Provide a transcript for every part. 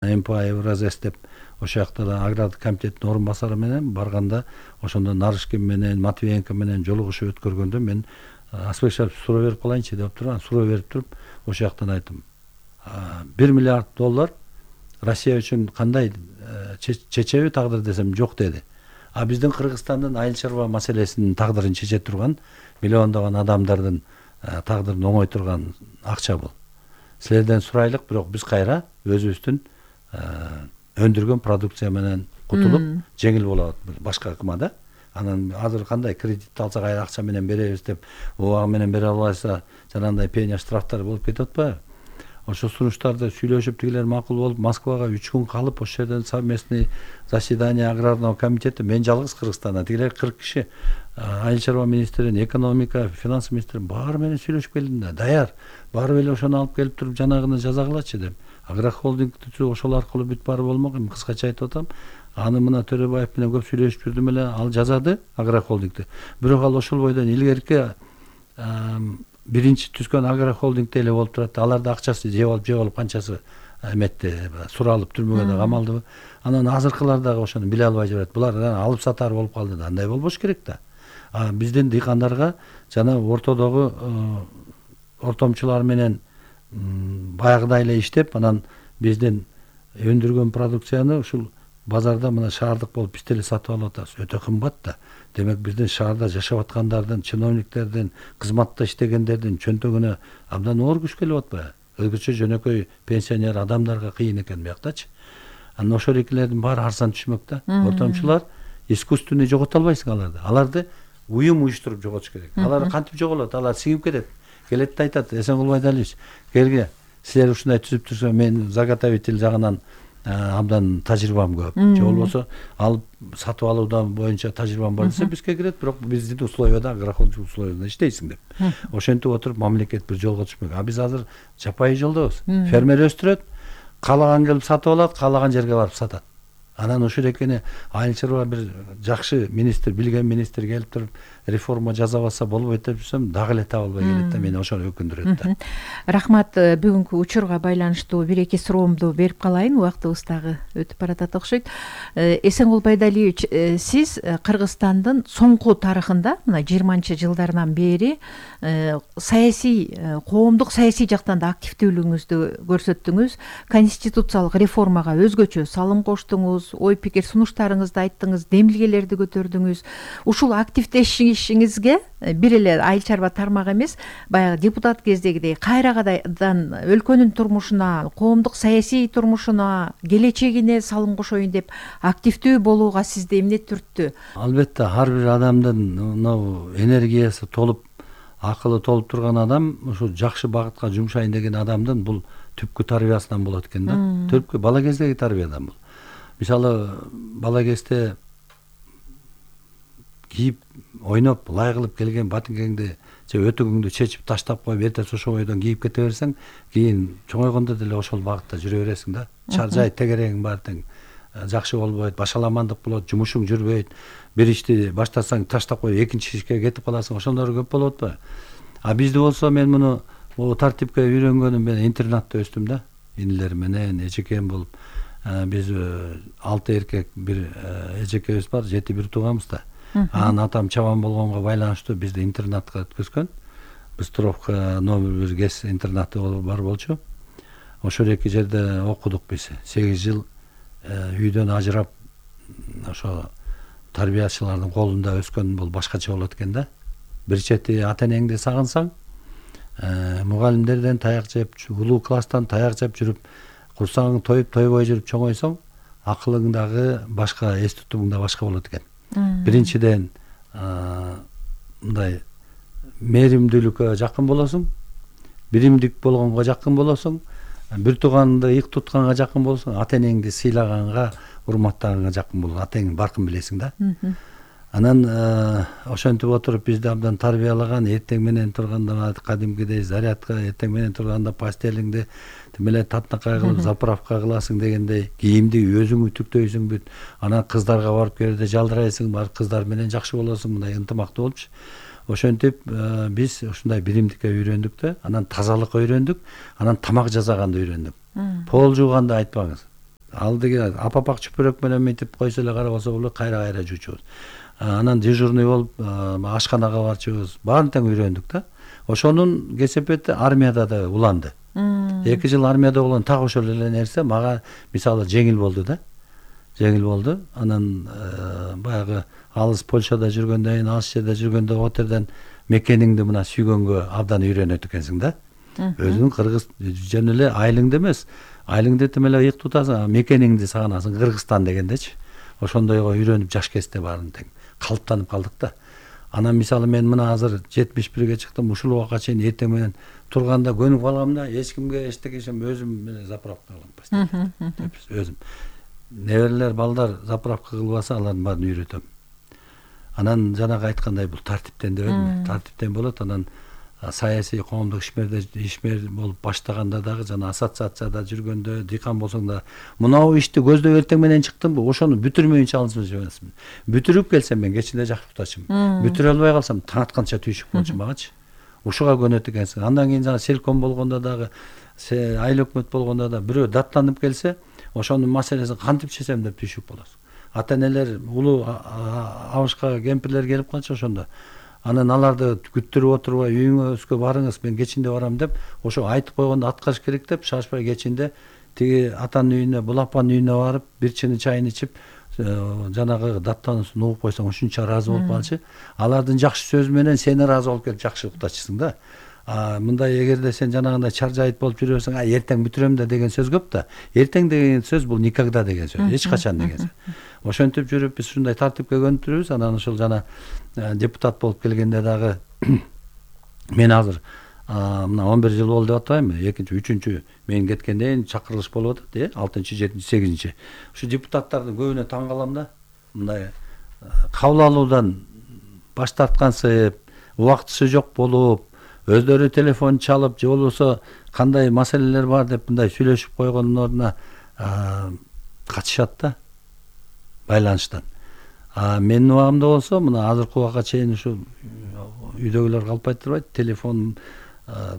МПА Евразес деп ошол жакта да агрардык комитеттин орун басары менен барганда ошондо Нарышкин менен Матвиенко менен жолугушуп өткөргөндө мен Аспекшаевич суроо берип калайынчы деп туруп суроо берип туруп ошол жактан айттым. 1 миллиард доллар Россия үчүн кандай чечеби тагдыр десем жок деди. А биздин Кыргызстандын айыл чарба маселесинин тагдырын чече турган миллиондогон адамдардын тагдырын оңой турган акча бул. Силерден сурайлык, бирок биз кайра өзүбүздүн өндүргөн продукция менен кутулуп жеңил болот башка ыкмада. Анан азыр кандай кредит алса кайра акча менен беребиз деп убагы менен бере албайса жанагындай пеня штрафтар болуп кетип атпайбы? Ошо сунуштарды сүйлөшүп тигилер макул болуп Москвага 3 күн калып ошол жерден совместный заседание аграрного комитета мен жалгыз Кыргызстандан тигилер 40 киши айыл чарба министрин, экономика, финанс министрин баары менен сүйлөшүп келдим да. Даяр. Барып эле ошону алып келип туруп жанагыны жазагылачы деп. Агрохолдингти ошол аркылуу бүт барып болмок. Эми кыскача айтып атам. Аны мына Төрөбаев менен көп сүйлөшүп жүрдүм эле. Ал жазады агрохолдингти. Бирок ал ошол бойдон илгерки биринчи түзгөн агрохолдингте эле болуп турат. Аларда акчасы же болуп канчасы эметти, суралып түрмөгө да камалдыбы. Анан азыркылар дагы ошону биле албай жүрөт. Булар алып сатар болуп калды да. Андай болбош керек да. Биздин дыйкандарга жана ортодогу ортомчулар менен баягыдай эле иштеп, анан биздин өндүргөн продукцияны ушул базарда мына шаардык болуп биз деле сатып алып атабыз. Өтө кымбат да. Демек биздин шаарда жашап аткандардын, чиновниктердин, кызматта иштегендердин чөнтөгүнө абдан оор күч келип атпайбы? Өзгөчө жөнөкөй пенсионер адамдарга кыйын экен биякчы. Анан ошол экилердин баары арзан түшмөк да. Ортомчулар искусственный жогото албайсың аларды. Аларды уюм уюштуруп жоготуш керек. Алар кантип жоголот? Алар сиңип кетет. Келет да айтат: Эсенгул Байдалиевич, келге, силер ушундай түзүп турса, мен заготовитель жагынан абдан тажрыйбам көп. Же болбосо алып сатып алуудан боюнча тажрыйбам бар десе, бизге кирет, бирок биздин условияда, агрохолдинг условияда иштейсиң деп. Ошентип отуруп мамлекет бир жолго түшмөк. А биз азыр жапайы жолдобуз. Фермер өстүрөт, каалаган келип сатып алат, каалаган жерге барып сатат. Анан ошол экени айыл чарба бир жакшы министр, билген министр келип туруп реформа жасабаса болбойт деп жүрсөм, дагы эле таба албай келет да, мени ошол өкүндүрөт да. Рахмат, бүгүнкү учурга байланыштуу бир эки суроомду берип калайын, убактыбыз дагы өтүп баратат окшойт. Эсенгул Байдалиевич, сиз Кыргызстандын соңку тарыхында, мына 20-жылдардан бери саясий, коомдук саясий жактан да активдүүлүгүңүздү көрсөттүңүз. Конституциялык реформага өзгөчө салым коштуңуз, ой пикир сунуштарыңызды айттыңыз, демилгелерди көтөрдүңүз. Ушул активдешишиңизге бир эле айыл чарба тармагы эмес, баягы депутат кездегидей кайрадан өлкөнүн турмушуна, коомдук саясий турмушуна, келечегине салым кошоюн деп активдүү болууга сизди эмне түрттү? Албетте, ар бир адамдын энергиясы толуп, акылы толуп турган адам ушу жакшы багытка жумшайын деген адамдын бул түпкү тарбиясынан болот экен да. Түпкү бала кездеги тарбиядан бул. Мисалы, бала кезде кийип, ойноп, лай кылып келген батингеңди же өтүгүңдү чечип таштап коюп, эртеси ошол бойдон кийип кете берсең, кийин чоңойгондо деле ошол багытта жүрө бересиң да. Жай тегерегиң баары тең жакшы болбойт, башаламандык болот, жумушуң жүрбөйт. Бир ишти баштасаң таштап коюп, экинчи ишке кетип каласың. Ошондор көп болуп атпайбы? А бизде болсо, мен муну тартипке үйрөнгөнүм менен интернатта өстүм да. Инилер менен эжекем болуп. Биз 6 эркек, бир эжекебиз бар, 7 бир тууганбыз да. Анан атам чабан болгонго байланыштуу бизди интернатка өткөзгөн. Быстровка номер 1 ГЭС интернаты бар болчу. Ошол эки жерде окудук биз. 8 жыл үйдөн ажырап, ошо тарбиячылардын колунда өскөн бул башкача болот экен да. Бир чети ата энеңди сагынсаң, мугалимдерден таяк жеп, улуу класстан таяк жеп жүрүп, курсагың тоюп, тойбой жүрүп чоңойсоң, акылың дагы башка, эс тутумуң да башка болот экен. Биринчиден мындай мээримдүүлүккө жакын болосуң, биримдик болгонго жакын болосуң, бир тууганды ыйык тутканга жакын болосуң, ата энеңди сыйлаганга, урматтаганга жакын болосуң, ата энеңдин баркын билесиң да. Анан ошентип отуруп бизди абдан тарбиялаган, эртең менен турганда кадимкидей зарядка, эртең менен турганда пастелиңди тим эле татынакай кылып заправка кыласың дегендей, кийимди өзүң үтүктөйсүң бүт. Анан кыздарга барып келгенде жалдырайсың, бар кыздар менен жакшы болосуң, мындай ынтымактуу болупчу. Ошентип биз ушундай биримдикке үйрөндүк да, анан тазалыкка үйрөндүк, анан тамак жасаганды үйрөндүк. Пол жууганды айтпаңыз. алдыга апапак чүпүрөк менен мынтип койсо эле карап алса болот, кайра жуучубуз. Анан дежурный болуп ашканага барчубуз. Баарын тең үйрөндүк да. Ошонун кесепети армияда да уланды. 2 жыл армияда болгон так ошол эле нерсе мага мисалы жеңил болду да. Жеңил болду. Анан баягы алыс Польшада жүргөндөн кийин, алыс жерде жүргөндө отерден мекениңди мына сүйгөнгө абдан үйрөнөт экенсиң да. Өзүң кыргыз жөн эле айылыңды эмес, айылыңды этим эле ыйык тутасың, мекениңди сагынасың, Кыргызстан дегендечи. Ошондойго үйрөнүп жаш кезде баарын тең калыптанып калдык да. Анан мисалы мен мына азыр 71ге чыктым, ушул убакка чейин эртең менен турганда көнүп калгам да, эч кимге эчтекешем, өзүм менен заправка кылам. Өзүм. Неберелер, балдар заправка кылбаса, алардын баарын үйрөтөм. Анан жанагы айткандай бул тартиптен дебедимби? Тартиптен болот. Анан саясий коомдук ишмер болуп баштаганда дагы жана ассоциацияда жүргөндө, дыйкан болсоң да мынау ишти көздөп эртең менен чыктымбы, ошону бүтүрмөйүнчө алышып эмесмин. Бүтүрүп келсем мен кечинде жакшы уктачумун. Бүтүрө албай калсам таң атканча түйшүк болчумун багычы. Ушуга көнөт экенсиң. Андан кийин жана селком болгондо дагы, айыл өкмөт болгондо да бирөө даттанып келсе, ошонун маселесин кантип чечсем деп түйшүк болосуң. Ата-энелер, улуу абышка кемпирлер келип калчу ошондо. Анан аларды күттүрүп отурбай үйүңөзгө барыңыз, мен кечинде барам деп, ошо айтып койгондо аткарыш керек деп, шашпай кечинде тиги атанын үйүнө, бул апанын үйүнө барып, бир чыны чайын ичип, жанагы даттануусун угуп койсоң ушунча ыраазы болуп калчу. Алардын жакшы сөзү менен сен ыраазы болуп келип жакшы уктачысың да. Мындай эгерде сен жанагындай чаржайыт болуп жүрөсүң, эртең бүтүрөм да деген сөз көп да. Эртең деген сөз бул никогда деген сөз, эч качан деген сөз. Ошентип жүрүп биз ушундай тартипке көнүктүрүбүз. Анан ошол жана депутат болуп келгенде дагы мен азыр мына 11 жыл болду деп атпаймынбы? 2-3 мен кеткенден чакырылыш болуп атат, 6-7 8. Ушу депутаттардын көбүнө таң калам да. Мындай кабыл алуудан баш тарткансып, убактысы жок болуп, өздөрү телефон чалып, же болбосо кандай маселелер бар деп мындай сүйлөшүп койгондун ордуна качышат да байланыштан. Менин убагымда болсо, мына азыркы убакка чейин ушу үйдөгүлөр калпай турбайт, телефон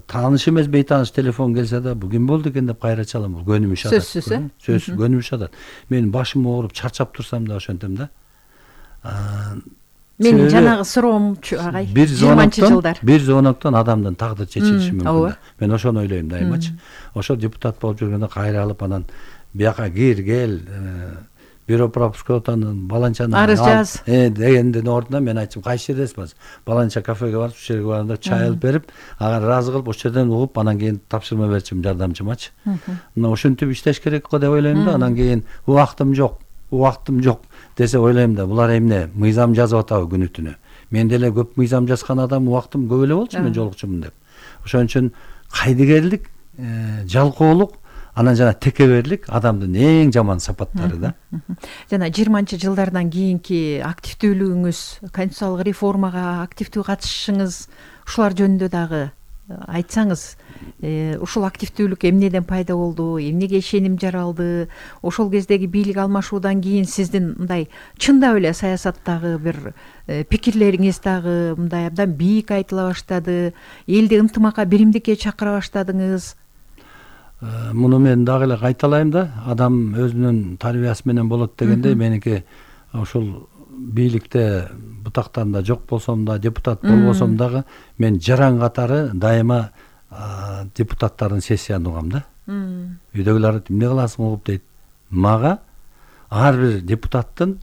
тааныш эмес, бейтааныш телефон келсе да, бугүн болду экен деп кайра чалам. Бул көнүмүш атат. Сөзсүз көнүмүш атат. Мен башым ооруп, чарчап турсам да ошентем да. Менин жанагы суроомчу агай, 20-жылдар. Бир звоноктон адамдын тагдыры чечилиши мүмкүн. Мен ошону ойлойм дайымачы. Ошо депутат болуп жүргөндө кайра алып, анан бияка кел, бюро пропускотанын баланчаны арыз жаз дегендин ордуна мен айтчым, кайсы жердесиз? Баланча кафеге барып, ушул жерге барганда чай алып берип, ага ыраазы кылып, ошол жерден угуп, анан кийин тапшырма берчим жардамчымачы. Мына ошентип иштеш керек го деп ойлойм да. Анан кийин убактым жок десе ойлойм да, булар эмне мыйзам жазып атабы күнү түнү. Мен деле көп мыйзам жазган адам, убактым көп эле болчу, мен жолукчумун деп. Ошон үчүн кайдыгерлик, жалкоолук, анан жана текеберлик адамдын эң жаман сапаттары да. Жана 20-жылдардан кийинки активдүүлүгүңүз, конституциялык реформага активдүү катышышыңыз, ушулар жөнүндө дагы айтсаңыз, ушул активдүүлүк эмнеден пайда болду, эмнеге ишеним жаралды, ошол кездеги бийлик алмашуудан кийин сиздин мындай чындап эле саясаттагы бир пикирлериңиз дагы мындай абдан бийик айтыла баштады, элди ынтымакка, биримдикке чакыра баштадыңыз. Муну мен дагы эле кайталайм да, адам өзүнүн тарбиясы менен болот дегендей, меники ошол бийликте бутактарында жок болсом да, депутат болбосом дагы, мен жаран катары дайыма депутаттардын сессиясын угам да. Үйдөгүлөр эмне кыласың угуп дейт. Мага ар бир депутаттын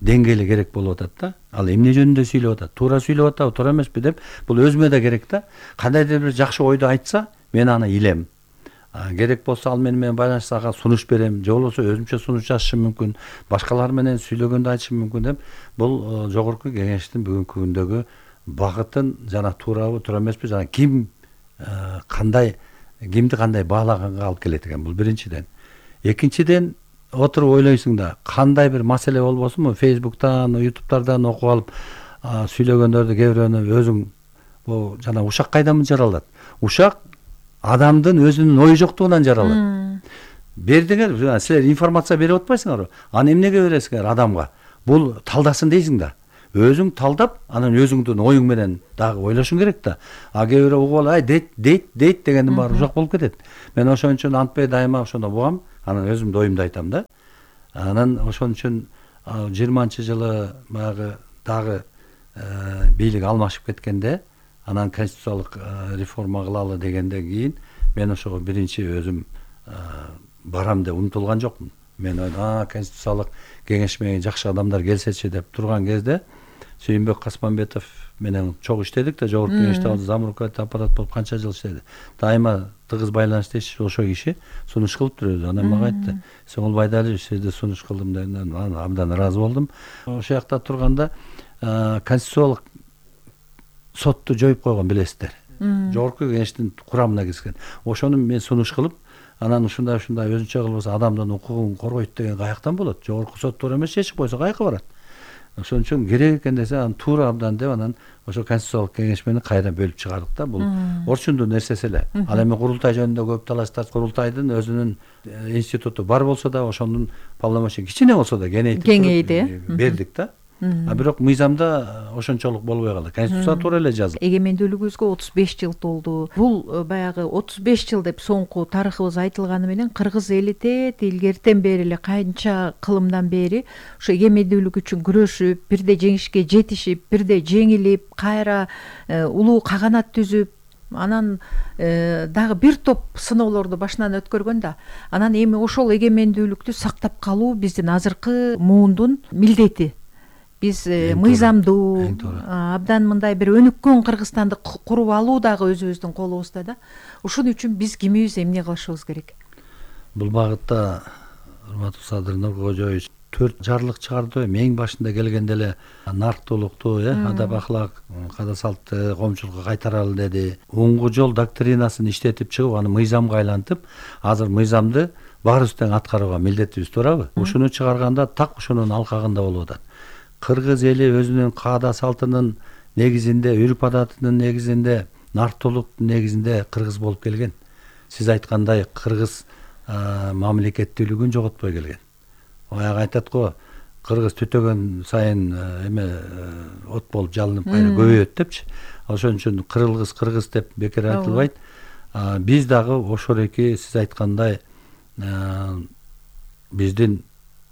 деңгээли керек болуп атат да. Ал эмне жөнүндө сүйлөп атат, туура сүйлөп атабы, туура эмеспи деп, бул өзүмө да керек да. Кандайдыр бир жакшы ойду айтса, мен аны илем. Керек болсо ал менен байланышса ага сунуш берем, же болбосо өзүмчө сунуш жазышым мүмкүн, башкалар менен сүйлөгөндө айтышым мүмкүн деп. Бул жогорку кеңештин бүгүнкү күндөгү багытын, жана туурабы, туура эмеспи, жана кимди кандай баалаганга алып келет экен. Бул биринчиден. Экинчиден, отуруп ойлойсуң да, кандай бир маселе болбосунбу, Facebook'тан, YouTube'тардан окуп алып сүйлөгөндөрдү кээ бирөөнү өзүң жана ушак кайдан жаралат? Ушак адамдын өзүнүн ою жоктугунан жаралат. Бердиңер, силер информация берип атпайсыңарбы? Аны эмнеге бересиңер адамга? Бул талдасын дейсиң да. Өзүң талдап, анан өзүңдүн оюң менен дагы ойлошуң керек да. Кээ бирөө угуп алып, дейт дегендин баары ушак болуп кетет. Мен ошон үчүн антпай дайыма ошондо бугам. анан өзүмдү оюмду айтам да. Анан ошон үчүн 20-жылы баягы дагы бийлик алмашып кеткенде, анан конституциялык реформа кылалы дегенден кийин мен ошого биринчи өзүм барам деп умтулган жокмун. Мен конституциялык кеңеш жакшы адамдар келсечи деп турган кезде Сүйүнбек Касманбетов менен чогуу иштедик да, жогорку кеңеште замруководитель аппарат болуп канча жыл иштеди. Дайыма тыгыз байланыштайчы ошол киши сунуш кылыптыр өзү. Анан мага айтты: "Сеңгул Байдалиевич, сизди сунуш кылдым" дегенден абдан ыраазы болдум. Ошол жакта турганда конституциялык сотту жоюп койгон, билесиздер. Жогорку кеңештин курамына киришкен. Ошону мен сунуш кылып, анан ушундай өзүнчө кылбаса адамдын укугун коргойт деген каяктан болот? Жогорку соттор эмес чечип койсо каяка барат? Ошон үчүн керек экен десе, анан туура абдан деп анан ошо конституциялык кеңеш менен кайра бөлүп чыгардык да. Бул орчундуу нерсеси эле. Ал эми курултай жөнүндө көп талаштар, курултайдын өзүнүн институту бар болсо да, ошонун полномочия кичине болсо да кеңейди, бердик да. Бирок мыйзамда ошончолук болбой калды. Конституция туура эле жазылды. Эгемендүүлүгүбүзгө 35 жыл толду. Бул баягы 35 жыл деп соңку тарыхыбыз айтылганы менен кыргыз эли илгертен бери эле канча кылымдан бери ошо эгемендүүлүк үчүн күрөшүп, бирде жеңишке жетишип, бирде жеңилип, кайра улуу каганат түзүп, анан дагы бир топ сыноолорду башынан өткөргөн да. Анан эми ошол эгемендүүлүктү сактап калуу биздин азыркы муундун милдети. Биз мыйзамдуу, абдан мындай бир өнүккөн Кыргызстанды куруп алуу дагы өзүбүздүн колубузда да. Ушун үчүн биз кимибиз эмне кылышыбыз керек? Бул багытта урматтуу Садыр Нуркожоевич 4 жарлык чыгарды. Эң башында келгенде эле нарктуулукту, адап ахлак, када салтты коомчулукка кайтаралы деди. Оңгу жол доктринасын иштетип чыгып, аны мыйзамга айлантып, азыр мыйзамды баарыбыз тең аткарууга милдеттибиз, туурабы? Ушуну чыгарганда так ушунун алкагында болуп атат. Кыргыз эли өзүнүн каада салтынын негизинде, үрп адатынын негизинде, нарктуулуктун негизинде кыргыз болуп келген. Сиз айткандай кыргыз мамлекеттүүлүгүн жоготпой келген. Баягы айтат го, кыргыз түтөгөн сайын от болуп жалынып кайра көбөйөт депчи. Ошон үчүн кыргыз деп бекер айтылбайт. Биз дагы ошол эки сиз айткандай биздин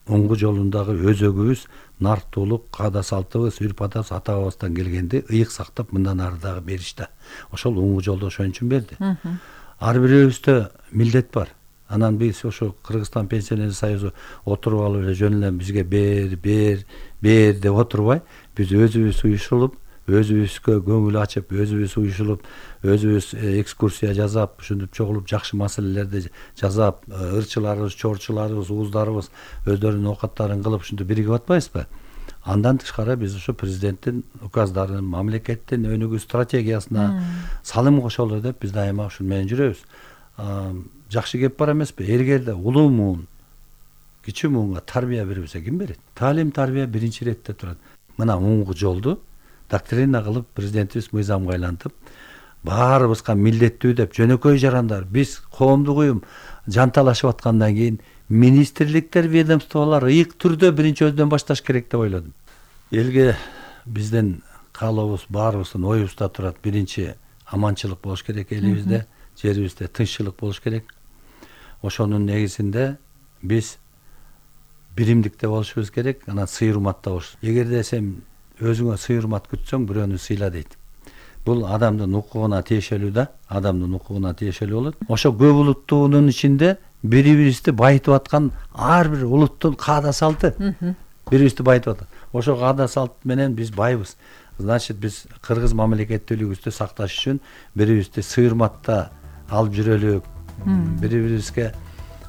оңгу жолундагы өзөгүбүз, нарктуулук, каада салтыбыз, үрп адатыбыз ата бабабыздан келгенди ыйык сактап мындан ары дагы беришти. Ошол оңгу жолду ошон үчүн берди. Ар бирөөбүздө милдет бар. Анан биз ошо Кыргызстан пенсионер союзу отуруп алып эле жөн эле бизге бер деп отурбай, биз өзүбүз уюшулуп, өзүбүзгө көңүл ачып, өзүбүз уюшулуп, өзүбүз экскурсия жасап, ушинтип чогулуп жакшы маселелерди жасап, ырчыларыбыз, чорчуларыбыз, ууздарыбыз өздөрүнүн оокаттарын кылып ушинтип биригип атпайбызбы? Андан тышкары биз ошо президенттин указдарын, мамлекеттин өнүгүү стратегиясына салым кошолу деп биз дайыма ушун менен жүрөбүз. Жакшы кеп бар эмеспи? Эгерде улуу муун, кичүү муунга тарбия бербесе ким берет? Таалим, тарбия биринчи иретте турат. Мына оңгу жолду доктрина кылып президентибиз мыйзамга айлантып, баарыбызга милдеттүү деп жөнөкөй жарандар, биз коомдук уюм жанталашып аткандан кийин министрликтер, ведомстволор ыйык түрдө биринчи өзүнөн башташ керек деп ойлодум. Элге биздин каалообуз баарыбыздын оюбузда турат. Биринчи аманчылык болуш керек элибизде, жерибизде тынччылык болуш керек. Ошонун негизинде биз биримдикте болушубуз керек, анан сый-урматта болуш. Эгерде сен өзүңө сый-урмат күтсөң, бирөөнү сыйла дейт. Бул адамдын укугуна тиешелүү да, адамдын укугуна тиешелүү болот. Ошо көп улуттуунун ичинде бири-бирибизди байытып аткан ар бир улуттун каада салты бири-бирибизди байытып атат. Ошо каада салт менен биз байбыз. Значит, биз кыргыз мамлекеттүүлүгүбүздү сакташ үчүн бири-бирибизди сый-урматта алып жүрөлүк. Бири-бирибизге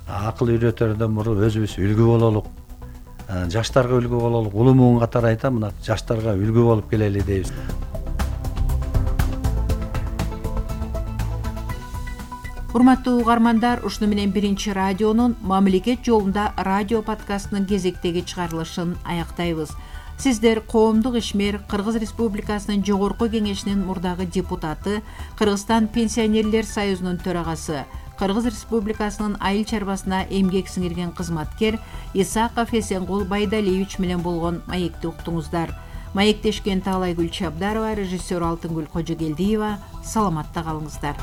акыл үйрөтөрдөн мурун өзүбүз үлгү бололук. Жаштарга үлгү бололук. Улуу муун катары айтам, мына жаштарга үлгү болуп келели дейбиз. Урматтуу угармандар, ушуну менен биринчи радионун Мамлекет жолунда радио подкастынын кезектеги чыгарылышын аяктайбыз. Сиздер коомдук ишмер, Кыргыз Республикасынын Жогорку Кеңешинин мурдагы депутаты, Кыргызстан пенсионерлер союзунун төрагасы, Кыргыз Республикасынын айыл чарбасына эмгек сиңирген кызматкер Исаков Эсенгул Байдалиевич менен болгон маекти уктуңуздар. Маектешкен Таалайгүл Чабдарова, режиссер Алтынгүл Кожогелдиева. Саламатта калыңыздар.